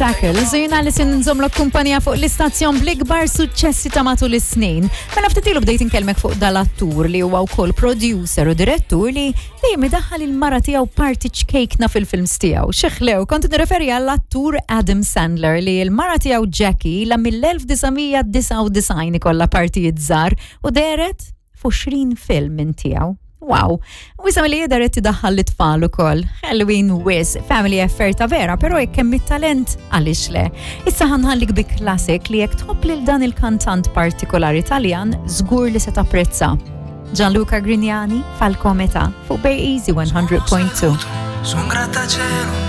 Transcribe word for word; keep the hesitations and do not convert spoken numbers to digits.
Shackles, u jiena li se nżommlok kumpanija fuq l-istazzjon bl-ikbar suċċessi ta' matul is-snin. Mela ftit ilu bdejt inkellmek fuq dal-attur li huwa wkoll producer u direttur li dejjem idaħħal il-mara tiegħu parti ċkejkna fil-films tiegħu. Xeħlew, kont nirreferi għall-attur Adam Sandler li l-mara tiegħu Jackie la mill-elf disa' mija disgħa u disgħin ikollha partijiet żgħar u dehret f'għoxrin film minn tiegħu. Wow, u issa li jidher qed idaħħal l-tfal ukoll. Halloween wisq, family affair ta' vera, però jekk hemm it-talent, għaliex le? Issa ħa nħallik bi classic li jekk tħobb lil dan il-kantant partikolari Taljan, żgur li se tapprezza. Gianluca Grignani, Falcometà, fuq Bay Easy mija u wieħed punt tnejn. Su un grattacielo.